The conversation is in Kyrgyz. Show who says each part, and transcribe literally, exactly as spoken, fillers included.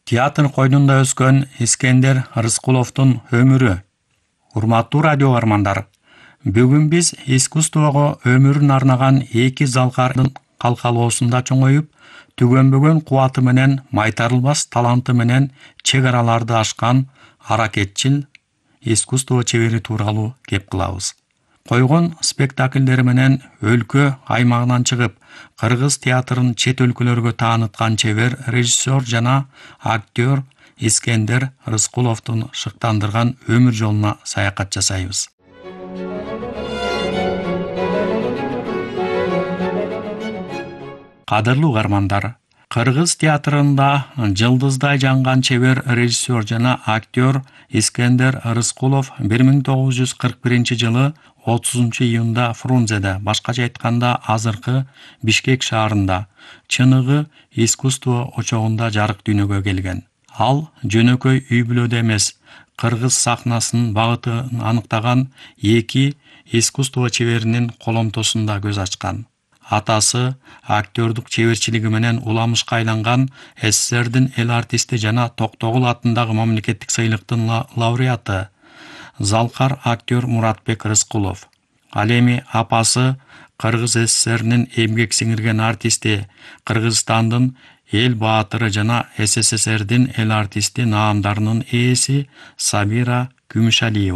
Speaker 1: Театр койнунда өскөн Искендер Рыскуловдун өмүрү. Урматтуу радио армандар, бүгүн биз искусствого өмүрүн арнаган эки залкардын калкалоосунда чоңоюп, түгөнбөгөн кубаты менен, майтарылбас таланты менен чек араларды ашкан аракетчил искусство чебери тууралуу кеп кылабыз. Койгон спектакльдери менен өлкө аймагынан чыгып, кыргыз театрын чет өлкөлөргө тааныткан чебер режиссер жана актер Искендер Рыскуловдун шыктандырган өмүр жолуна саякат жасайбыз. Кадырлуу угармандар, кыргыз театрында жылдыздай жанган чебер режиссер жана актер Искендер Рыскулов бир миң тогуз жүз кырк биринчи жылы отузунчу июнда Фрунзеде, башкача айтканда азыркы Бишкек шаарында, чыныгы искусство очогунда жарык дүйнөгө келген. Ал жөнөкөй үй-бүлөдө эмес, кыргыз сахнасынын багытын аныктаган эки искусство чеберинин коломтосунда көз ачкан. Атасы актердук чеберчилиги менен уламышка айланган СССРдин эл артисти жана Токтогул атындагы мамлекеттик сыйлыктын лауреаты залкар актер Муратбек Рыскулов. Ал эми апасы Кыргыз СССРнин эмгек сиңирген артисти, Кыргызстандын эл баатыры жана СССРдин эл артисти наамдарынын ээси Сабира Күмүшалиева.